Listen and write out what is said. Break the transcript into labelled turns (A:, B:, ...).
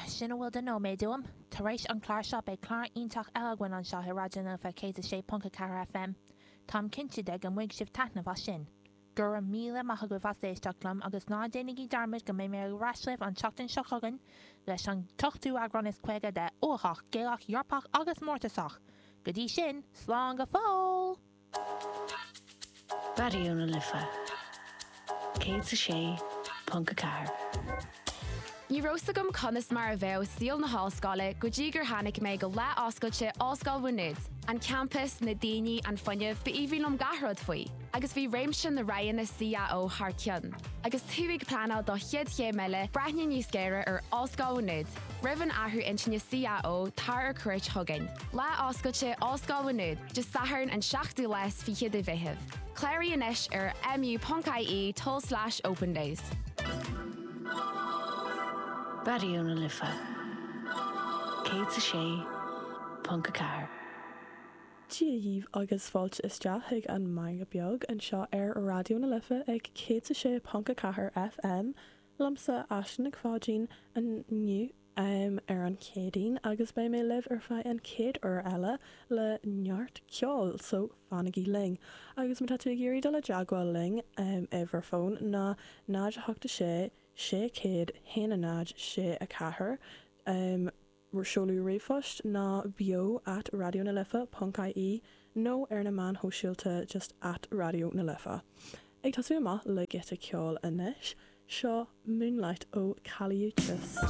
A: Sin a bhfuil de nóiméad uaim. Tar éis an clár seo beidh clár iontach eile againn anseo i Raidió na Life 106.4 FM. Táim cinnte de go mbainfidh sibh taitneamh as sin. Go raibh míle maith agaibh as éisteacht liom agus ná déanaigí dearmad go mbeidh mé ar ais libh an tseachtain seo chugainn leis an t-ochtú eagrán is 50 de Uathach, Gaelach, Eorpach agus Mórtasach! Go dtí sin, slán go fóill!
B: Raidió na Life 106.4.
C: Ní raibh 's agam conas mar a bheadh saol na hollscoile go dtí gur tháinig mé go lá oscailte Ollscoil Mhá Nuad. An campas, na daoine, an fuinneamh, ba aoibhinn liom gach rud faoi. Agus bhí réimse na roghanna CAO thar cionn. Agus tú ag pleanáil do chéad chéim eile, breathnaigh níos géire ar Ollscoil Mhá Nuad. Roimh an athrú intinne CAO, tar ar cuairt chugainn. Lá oscailte Ollscoil Mhá Nuad. Dé Sathairn an seachtú lá is fiche de Mheitheamh. Cláraigh anois ar mu.ie tulslais opendays.
B: Raidió na Life 106.4.
D: Dia dhaoibh agus fáilte isteach chuig an Meangadh Beag anseo ar Raidió na Life ag 106.4 FM. Liomsa, Aisling Nic Pháidín, inniu. ar an Chéadaoin agus beidh mé libh ar feadh an chéad uair eile le neart ceoil, so fanaigí linn. Agus má tá tú ag iarraidh dul i dteagmháil linn, uimhir fóin ná 0 8 6 600 1 0 6 4, seoladh ríomhphost ná beo at raidionalife ponc ie nó ar na meáin shóisialta just at Raidió na Life. Ag tosú amach le giota ceoil anois, seo Moonlight ó Kali Uchis.